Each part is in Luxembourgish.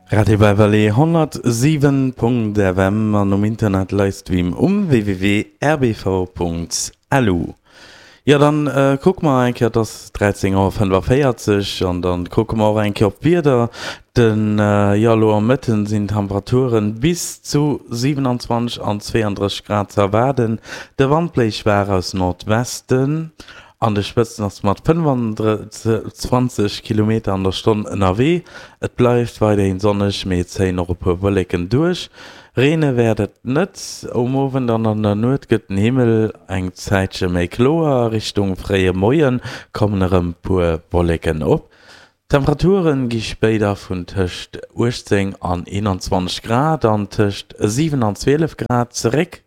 Radio Beverly 107.fm an um Internet Livestream um www.rbv.lu. Jo dann kucke mer eng Kéier, et ass 13 Auer 45 an dann kucke mer och eng Kéier op d'Wieder. Den, jo elo am Mëtten sinn Temperaturen bis zu 27 an 32 Grad ze erwaarden. De Wand bléist schwaach aus Nordwesten. An de Spëtzen ass mat 25 Kilometer an der Stonn ënnerwee. Et bleift weiderhin sonneg, mee et zéien och e puer Wolleken duerch. Reene wäert et net. Um Owend an an der Nuet gëtt den Himmel eng Zäitche méi kloer, Richtung fréie Moie kommen erëm puer Wolleken op. D'Temperature gi spéider vun tëscht 18 an 21 Grad an tëscht 7 an 12 Grad zeréck.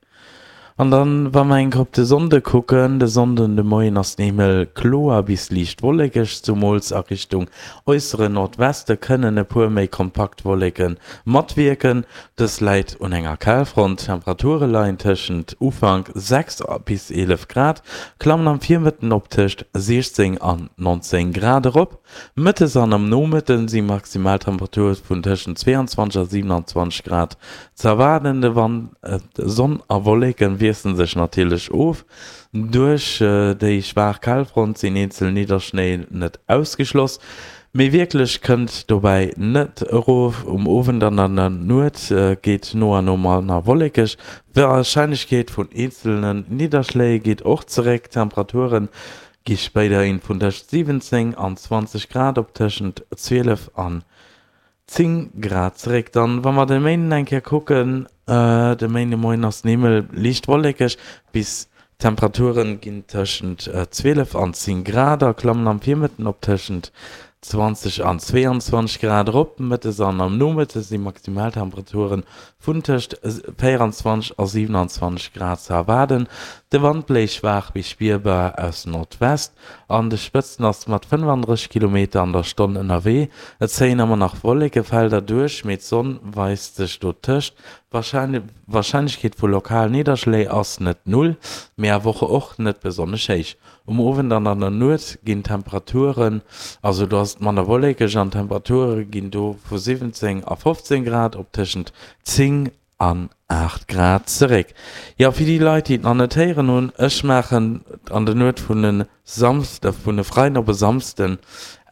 An dann, wa mer eng Kéier op de Sonnde kucken, De Sonnden de Moien ass den Himmel kloer bis liicht wollekeg, zumools a Richtung äussere Nordweste kënnen e puer méi kompakt Wolleke matwierken. Dës läit un enger Kalfront. D'Temperature leien tëschent Ufank 6 bis 11 Grad, klammen am Virmëtten op tëscht 16 an 19 Grad erop. Mëttes an am Nomëtte si Maximaltemperature vun tëschent 22 a 27 Grad ze erwaarden. De Wand, Sonn a Wolleke wiessele sech natierlech of. Duerch déi schwaach Kalfront sinn eenzel Nidderschléi net ausgeschloss. Mee wierklech kënnt dobäi net erof. Um Owend an an der Nuet geet no a no manner wollekeg, d'Warscheinlechkeet vun eenzelne Nidderschléi geet och zeréck. D'Temperature gi spéiderhin vun tëscht 17 an 20 Grad op tëschent 12 an 10 Grad zeréck. Dann, wa mer de Méinden eng Kéier kucken, De Méindemoien ass den Himmel liicht wollekeg bis d'Temperature ginn tëschent 12 an 10 Grad a klammen am Virmëtten op tëschent 20 an 22 Grad erop. Mëttes an am Nomëtte si Maximaltemperature vun tëscht 24 a 27 Grad ze erwaarden. De Wand bléist schwaach bis spierbar aus Nordwest. An de Spëtzen ass mat 35 Kilometer an der Stonn ënnerwee. Et zéien ëmmer nach Wollekefelder duerch, mee d'Sonn weist sech dotëscht. D'Warscheinlechkeet vu lokalen Nidderschléi ass net null, mee awer och net besonnesch héich. Um Owend an an der Nuet ginn d'Temperaturen, also do ass et manner wollekeg an d'Temperature ginn do vu 17 a 15 Grad op tëschent 10 An 8 Grad zeréck. Jo, fir déi Leit, déi et nach net héieren hunn, ech maachen an der Nuet vun e Samsde, vun e Freiden op e Samsden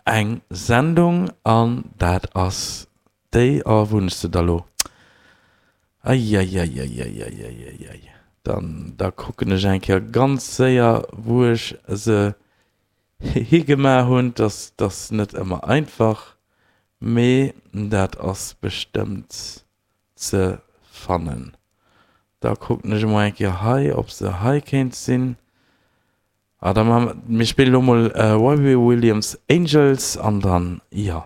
eng Sendung an dat ass déi, oh, wou hunn ech se da lo? Eieieieieieieiei, dann, da kucken ech eng Kéier ganz séier, wou ech se higemaach hunn. Dass, dass net ëmmer einfach, mee dat ass bestëmmt ze fannen. Da kucken ech emol eng Kéier hei, ob se hei kéint sinn. Ah, da maache mer, mir spillen elo mol Robbie Williams Angels an dann, jo.